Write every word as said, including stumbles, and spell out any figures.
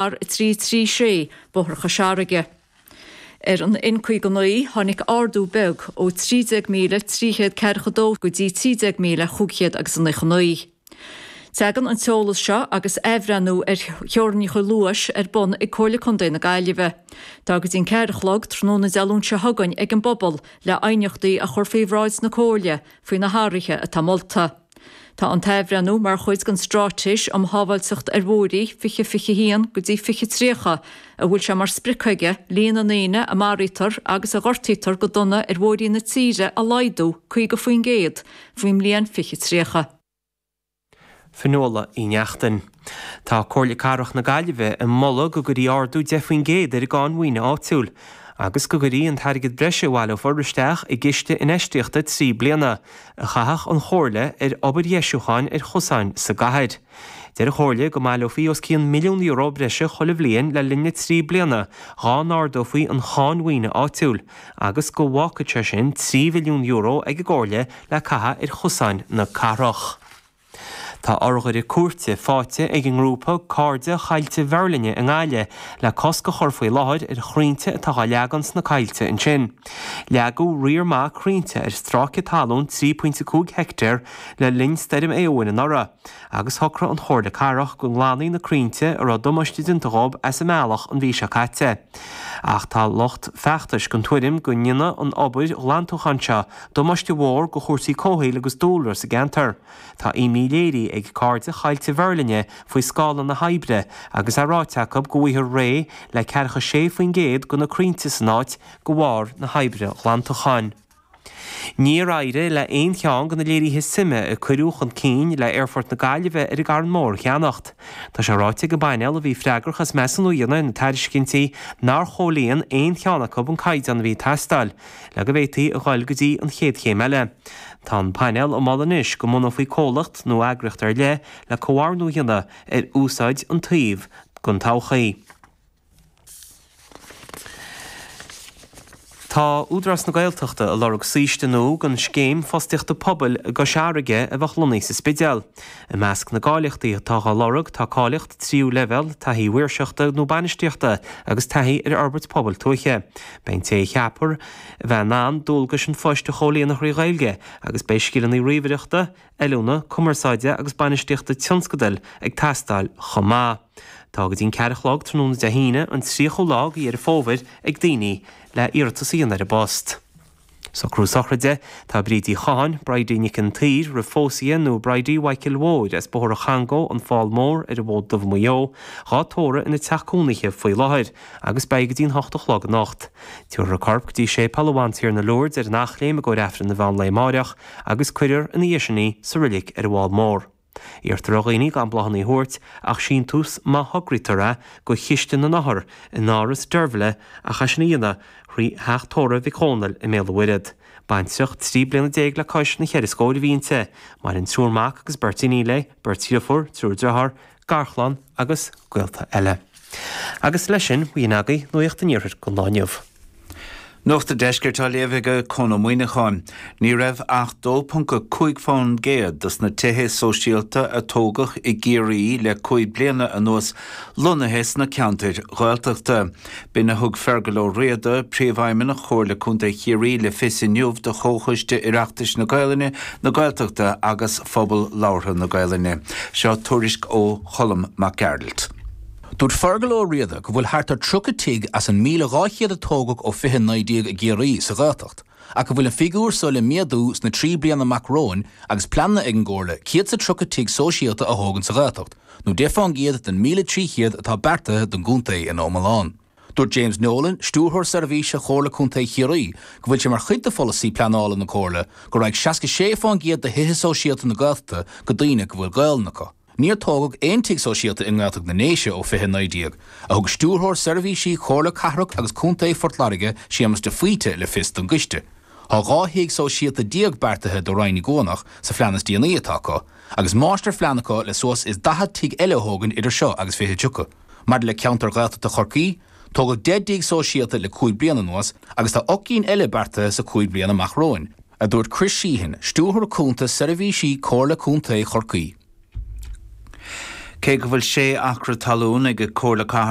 R trí trí sé Bóthar Chois Fharraige. Ar an N caoga naoi tháinig ardú beag ó trí déag míle trí chéad ceathracha dó go dtí trí déag míle chúig chéad agus a naocha naoi. Tagann an t-eolas seo agus athbhreithniú ar theorainneacha luais ar bun ag Comhairle Contae na Gaillimhe. Tá go dtí an ceathair a chlog tráthnóna Dé Luain seo chugainn ag an bpobal le aighneachtaí a chur faoi bhráid na Comhairle faoi na hathruithe atá molta. Tá an t-athbhreithniú mar chuid den Straitéis um Shábháilteacht ar Bhóithre fiche fiche haon go dtí fiche tríocha, a bhfuil sé mar sprioc aige líon na ndaoine a maraítear agus a ghortaítear go dona ar bhóithrí na tíre a laghdú caoga faoin gcéad faoin mbliain fiche tríocha. Fionnuala Uí Neachtain. Tá Comhairle Cathrach na Gaillimhe ag moladh go gcuirfí ardú deich faoin gcéad ar an gcáin mhaoine áitiúil agus go gcuirfí an t-airgead breise a bhaileofar isteach i gciste infheistíochta trí bliana a chaithfeadh an Chomhairle ar obair dheisiúcháin ar chosáin sa gcathair. Deir an Chomhairle go mbaileofaí os cionn milliún euro breise chuile bhliain le linn na trí bliana dhá n-ardófaí an cháin mhaoine áitiúil agus go bhfágfadh sé sin trí mhilliún euro ag an gComhairle le caitheamh ar chosáin na cathrach. Tá urghaire cúirte faighte ag an ngrúpa Cairde Choillte Mheirlinne i nGaillimh le cosc a chur faoi láthair ar chrainnte atá á leagan sna coillte ansin. Leagadh riar maith crainnte ar stráice talún trí pointe cúig heicteár le linn stoirm Éowyn anuraidh, agus shocraigh an Chomhairle Cathrach go nglanfaí na crainnte a raibh damáiste déanta dhóibh as a mbealach an mhí seo caite. Ach tá lucht feachtais den tuairim go ndéanfaidh an obair ghlantúcháin seo damáiste mhór do chúrsaí comhshaoil agus dúlra sa gceantar. Tá imní léirithe ag Cairde Choillte Mheirlinne faoi scála na hoibre agus é ráite acu go bhfaighfear réidh le ceathracha sé faoin gcéad de na crainnte san áit de bharr na hoibre glantúcháin. Níor éirigh le haon cheann de na léirithe suime a cuireadh chun cinn le Aerfort na Gaillimhe ar an gCarn Mór a cheannacht. Tá sé ráite ag an bpainéal a bhí freagrach as measúnú a dhéanamh ar na tairiscintí nár chomhlíon aon cheann acu an caighdeán a bhí ag teastáil le go bhféadfaí a dhul go dtí an chéad chéim eile. Tá an painéal ag moladh anois go mbunófaí comhlacht nó eagraíocht ar leith le comhordú a dhéanamh ar úsáid an tsuímh don todhchaí. Tá Údarás na Gaeltachta ag lorg saoiste nua don scéim fostaíochta pobail i gCois Fharraige a bheadh lonnaithe sa Spidéal. I measc na gcáilíochtaí atá á lorg tá cáilíocht tríú leibhéal, taithí mhaoirseachta nó bainistíochta agus taithí ar fhorbairt pobail tuaithe. Beidh an té a cheapfar a bheith in ann dualgais an phoist a chomhlíonadh thrí Ghaeilge agus beidh scileanna ríomhaireachta, oiliúna, cumarsáide agus bainistíochta tionscadail ag teastáil chomh maith. Tá go dtí an ceathair a chlog tráthnóna Dé hAoine, an tríochú lá de Dheireadh Fómhair, ag daoine le iarratas a dhéanamh ar an bpost. Socrú sochraide, Tá Bríd Uí Chatháin, Bridie Nic an tSaoir, roimh phósadh nó Bridie Mhichael Mhóir as Bóthar an Changó, An Fál Mór, ar an bhFód Dubh Maigh Eo, dhá tórramh ina teach cónaithe faoi láthair agus beidh go dtí an hocht a chlog anocht. Tabharfar a corp go dtí Séipéal Bhantiarna Lourdes ar an Eachléim i gcomhair Aifreann an mheán lae amáireach agus cuirfear ina dhiaidh sin í sa roilig ar an bhFál Mór. Iarrtar ar dhaoine gan bláthanna a thabhairt ach síntiús má thograítear é go Chiste na nOthar in Áras Deirbhile ach é sin a dhéanamh thrí Theach Tórraimh Mhic Dhónaill i mBéal an Mhuirthead. Baintreach trí bliana déag le cois na cheithre scóir a bhí inti. Maireann triúr mac agus beirt iníon léi, beirt dhriofúr, triúr driotháir, garchlann agus gaolta eile. Agus leis sin, b'in agaibh Nuacht an Iarthair don lá inniu. Nuacht an Deiscirt á léamh ag Conn Ó Muíneacháin. Ní raibh ach dó ponc a cúig fán gcéad dos na tithe sóisialta a tógadh i gCiarraí le cúig bliana anuas lonnaithe sna ceantair Ghaeltachta. B'in a thug Fergal Ó Riada, Príomhfheidhmeannach Chomhairle Contae Chiarraí le fios inniu do Chomhchoiste Oireachtais na Gaelainne, na Gaeltachta agus Phobal Labhartha na Gaelainne. Seo tuairisc ó Cholm Mac Gearailt. Dúirt Fergal Ó Riada go bhfuil thart ar tríocha tigh as an míle dhá chéad a tógadh ó fiche naoi déag i gCiarraí sa Ghaeltacht, ach go bhfuil an figiúr so le méadú sna trí bliana amach romhainn agus pleananna ag an gComhairle céad 's a tríocha tigh sóisialta a thógaint sa Ghaeltacht, nó deich fán gcéad den míle trí chéad atá beartaithe don gcontae ina iomlán. Dúirt James Nolan, Stiúrthóir Seirbhíse Chomhairle Contae Chiarraí, go bhfuil sé mar chuid de pholasaí pleanála na Comhairle go raghaidh seasca sé fán gcéad de thithe sóisialta na Gaeltachta go daoine go bhfuil Gaelainn acu. Níor tógadh aon tigh sóisialta i nGaeltacht na nDéise ó fiche naoi déag, a thug Stiúrthóir Seirbhísí Chomhairle Cathrach agus Contae Phort Láirge, Séamus de Faoite, le fios don gcoiste. Tá dhá thigh sóisialta déag beartaithe do Rinn na gCuanach sa phlean is déanaí atá acu, agus máistirphlean acu le suas is daichead tigh eile a thógaint idir seo agus fiche tríocha. Maidir le ceantar Gaeltachta Chorcaí, tógadh deich dtigh sóisialta le cúig bliana anuas agus tá ocht gcinn eile beartaithe sa chúig bliana amach romhainn, a dúirt Chris Sheehan, Stiúrthóir Cúnta Seirbhísí Chomhairle Contae Chorcaí. Cé go bhfuil sé acra talún ag Comhairle Cathrach